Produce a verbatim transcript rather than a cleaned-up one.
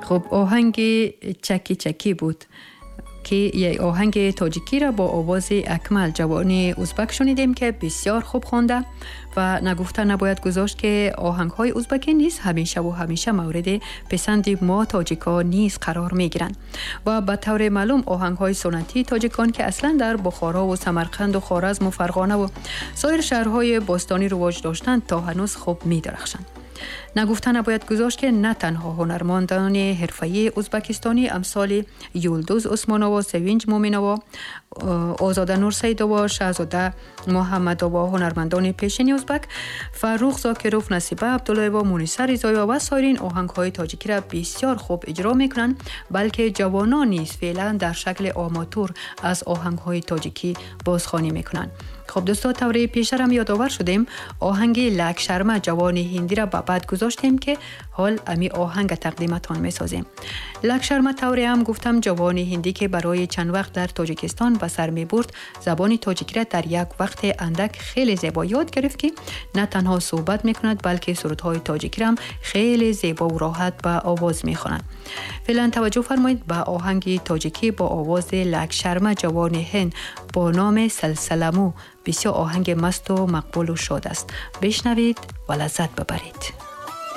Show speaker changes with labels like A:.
A: خب آهنگ چکی چکی بود که یک آهنگ تاجیکی را با آواز اکمل جوان ازبک شنیدیم که بسیار خوب خوانده و نگفته نباید گذاشت که آهنگ های ازبکی نیز همیشه و همیشه مورد پسند ما تاجیکا نیز قرار می گیرند و به طور معلوم آهنگ های سنتی تاجیکان که اصلا در بخارا و سمرقند و خوارزم و فرغانه و سایر شهرهای باستانی رواج داشتند تا هنوز خوب می درخشند. نگفته نباید گذاشت که نه تنها هنرمندان حرفه‌ای ازبکستانی امثال یولدوز عثمانova، سوینج مومینova، آزاده نورسیدova، شهزاده محمدova، هنرمندان پیشین ازبک، فرخ زاکروف، نصیبه عبدالله‌eva، مونیسه رضایeva و سایرین آهنگ‌های تاجیکی را بسیار خوب اجرا می‌کنند، بلکه جوانان نیز فعلا در شکل آماتور از آهنگ‌های تاجیکی بازخوانی می‌کنند. خب دوستا، طوری پیشترم یادآور شدیم آهنگ لک شرما جوان هندی را به بعد گذاشتیم که حال امی آهنگ تقدیمتان میسازیم. لک شرما طوری هم گفتم جوان هندی که برای چند وقت در تاجیکستان به سر می برد، زبان تاجیکی را در یک وقت اندک خیلی زیبا یاد گرفت که نه تنها صحبت میکند بلکه سرودهای تاجیکی را هم خیلی زیبا و راحت به آواز میخواند. فعلا توجه فرمایید به آهنگ تاجیکی با آواز لک شرما جوان هند با نام سلسلمو. بسیار آهنگ مست و مقبول و شاد است. بشنوید و لذت ببرید.